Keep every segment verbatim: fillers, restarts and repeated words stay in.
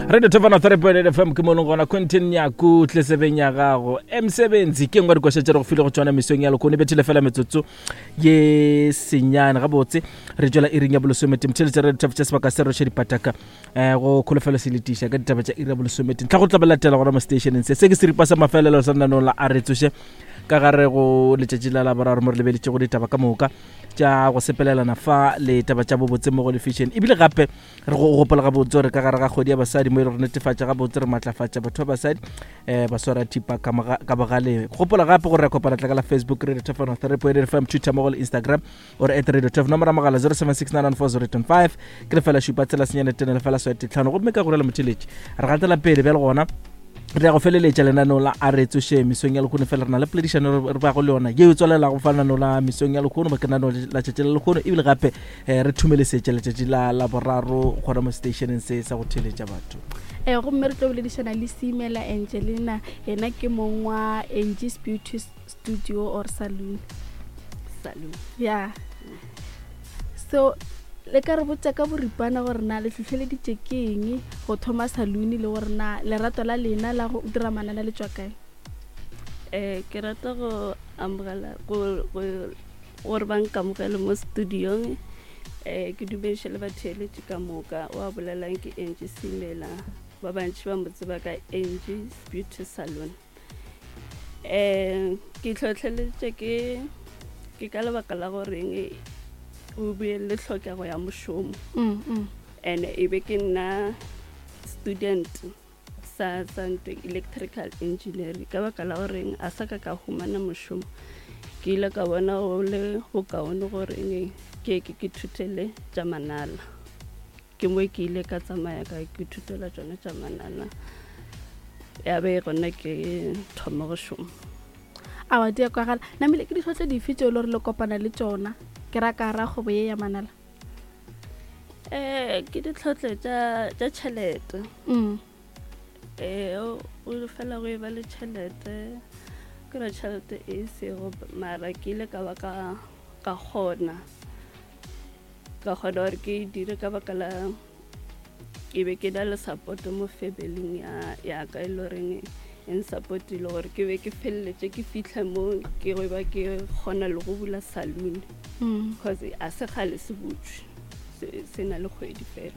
Radio Tefana three point eight F M ke mo leng gona. Quentin Nyaku tlesebeng ya gago emsebenzi ke nngwe dikoša tše re go file go tšona mesong ya lekone. Bethile fela metsotso ye senyane gabotse re tšwela iring ya bolesomete. Mtheletše Radio Tef tša sebaka se roše dipataka um go kholofelo se letiša ka ditaba tša iri ya bolesomete ntlha go tla ba latela gona mo stationeng se. Se ke seripa sa mafelelo sa lenaneo la A Re Tsoše ka gare go letšatši la Laboraro, mo re lebeletše go ditaba ka moka tša go sepelelana fa le taba tša bobotse mo go lefešene. Ebile gape re go gopola gabotse gore ka gare ga kgwedi ya basadi mo e le gore netefatša gabotse re maatlafatša batho ba basadi um ba swara thipa ka moga- ka bogaleng. Gopola gape gore re kopana tla ka la Facebook, Radio Tefano three point eight F M, Twitter mo go le Instagram ore at Radio Tef. Nomoro ya mogala zero seven six nine one four zero eight five ke lefela šupa tshela senyane tene lefela swete tlhano. Gomme ka gorela motheletše re gatela pele bjale gona re ya go feleletša lenaneo la A Re Tsoše mesong ya lekgono. Fela re na le poledišano re bago le yona yeo e tswalelago fa lenaneo la mesong ya lekgono ba ke lenaneo la tšatši la lekgono, ebile gape um re thumelesetša letšatši la Laboraro gona mo stationeng se sa go theletša batho. um gomme re tlo boledišana le Seemela Angelina, yena ke mong wa Angie's Beauty Studio or Saloon. Saloon. Ya, so le ka re botša ka boripana gore na le hlohleleditše ke eng go thoma saloon, le gore na lerato la lena la go dira manala le tšwa kae? um ke rata go amogela go go- gore ba nkamogele mo studiong. um ke dumediše le batheeletši ka moka. Wa bolelang ke Angie Semela, ba bantši ba mo tseba ka Angie's Beauty Salon. um ke tlhotlheleditše ke ke ka lebaka la goreng o be le tlhokego ya mošomo Mm, mm. and e be ke nna student sa sa ntho electrical engineering. Ka baka la goreng a sa ka ka humana mošomo, ke ile ka bona go le bokaone goreng ke ke ke thutele tša manala. Ke mo ke ile ka tsamaya ka ke thutela tšona tša manala, ya be gona ke thoma go šoma. Awa, di a kwagala. Namile ke ditlhotlho dife tšeo e le gore le kopana le tšona ke ra ka ra kgwebo ye ya manala? um ke ditlhotlho tša tša tšhelete. mm. Ee, o o fela go e ba le tšhelete, ke re tšhelete e sego, mara ke ile ka ba ka ka kgona ka kgona gore ke e dire ka baka la ke be ke na le support mo familing ya ya ka, e le goreng e nsupportile gore ke be ke feleletše ke fitlha mo ke go ba ke kgona le go bula saloon, Mm. cause a se kgale se butswe, se se na le kgwedi fela.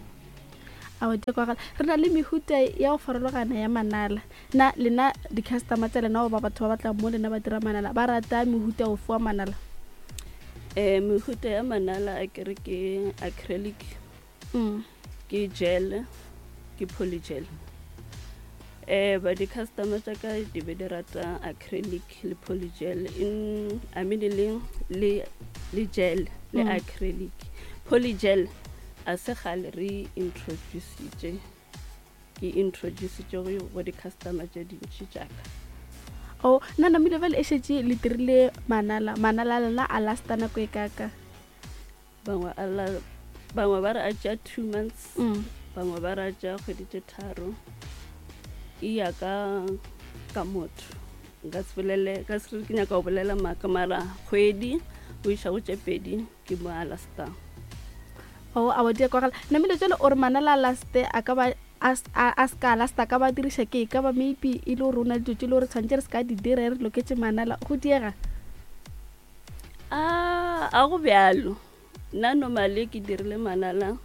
Awa, di a kwagala. Re na le mehuta ya go farologana ya manala. Na lena di-customer tsa lena goba batho ba batlang mo lena ba dira manala ba rata mehuta ofe wa manala? um mehuta ya manala a kere ke acrylic, mm. ke gel, ke polygel. um ba di-customer tša ka di be di rata acrylic le polygel in, I mean, le, le, le gel le Mm. acrylic. Polygel a se kgale re introducitše, ke introducitše go go di-customer tše dintši tšaka. O nna namile bjale e šetše le dirile manala, manala a lena a lasta nako e kaka? Bangwe a la- bangwe ba re a tšea two months, mm. bangwe ba re a tšea kgwedi tše tharo. E ya ka ka motho, nka se bolele ka se re ke nyaka go bolela maaka, mara kgwedi o iša go tše pedi ke mo a lastang. O awa, di a kwagala. Namile jale o re manala a laste a ka ba a s- a a se ka lasta ka ba diriša ke e ka ba maybe e le gore o na le dilo tše e le gore tshwanetse re se ka di dira re loketse manala go diega? a a go bjalo. Nna normally ke dirile manala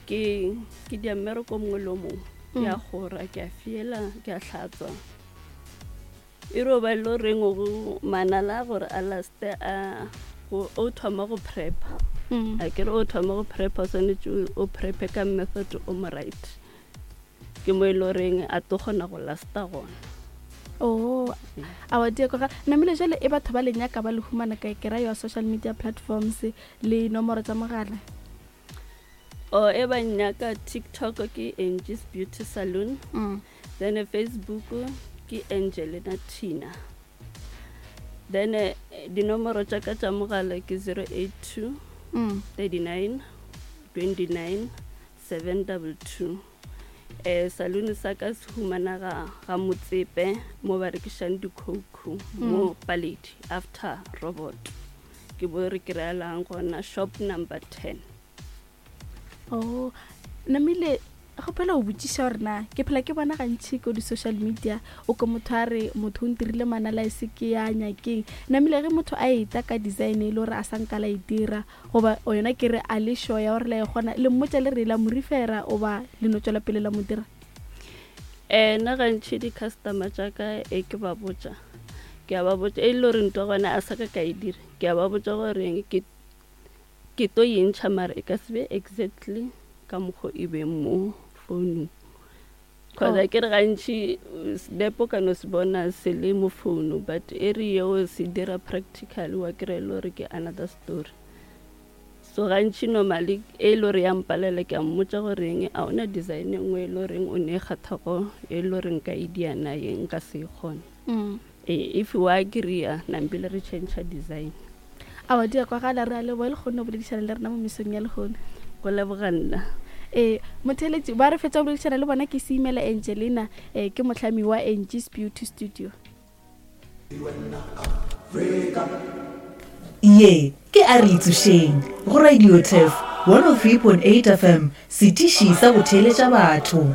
ke ke dia mmereko o mongwe le o mongwe, ke a gora, ke a fiela, ke a hlatswa, e ro ba e le goreng go manala gore a laste a go- o thoma go prepa. Mm. A kere o thoma go prepa, o swanetše o- o prepe ka method o mo right, ke mo e le goreng a tlo kgona go lasta gona. O awa, di a kwagala. Namile jale e batho ba le nyaka ba le humana kae? Ke ra your social media platforms le nomoro tsa mogala. O e ba nnyaka TikTok ke Angie's Beauty Saloon, mm. then Facebook ke Angelina Tina, then eh, dinomoro tša ka tša mogala ke zero eight two Mm. thirty-nine twenty-nine seven two two. um saloon sa ka se humana ga ga Motsepe mo ba rekišang dikhouku mo Paledi after robot, ke bo re kry-elang gona, shop number ten. O namile ge Kgopela go botšiša gore na ke phela ke bona gantšhi ko di-social media o ko motho a re motho o ntirile manala e se ke ya nyakeng. Namile ge motho a eta ka design e le gore a sa nka la e dira goba o yona ke re a le sure ya gore la e kgona, le mmotša le re la mo refera goba le no tswela pele la mo dira? Um nna gantšhi di-customer tša ka e ke ba botša, ke a ba botša e le gore ntwa gona a sa ka ka e dira, ke a ba botša gore ke ke to e ntšha mara e ka se be exactly ka mokgo e beng mo founung. Cause Oh. a ke re gantši senepo ka no se bona se le mo founu, but e re yeo se dira practical wa kry-a e le gore ke another story. So gantši normally e le gore ya mpalela ke a mmotša goreng a ona design e nngwe e le goreng o ne e kgathago e le gore nka e diana ye nka se e kgone. Mm. Ee, if wa agree-a nampile re change design. Aowa, di a kwagala, re a leboga le kgonne go boledišana le rena mo mesong ya lehono. Go leboga nna. Ee, motheeletši ba re fetša go boledišana le bona ke Seimela Angelina, eh, ke mohlami wa Angie's Beauty Studio. Ye ke a re itsošeng go Radio Turf one oh three point eight F M, setiši sa go theeletša batho.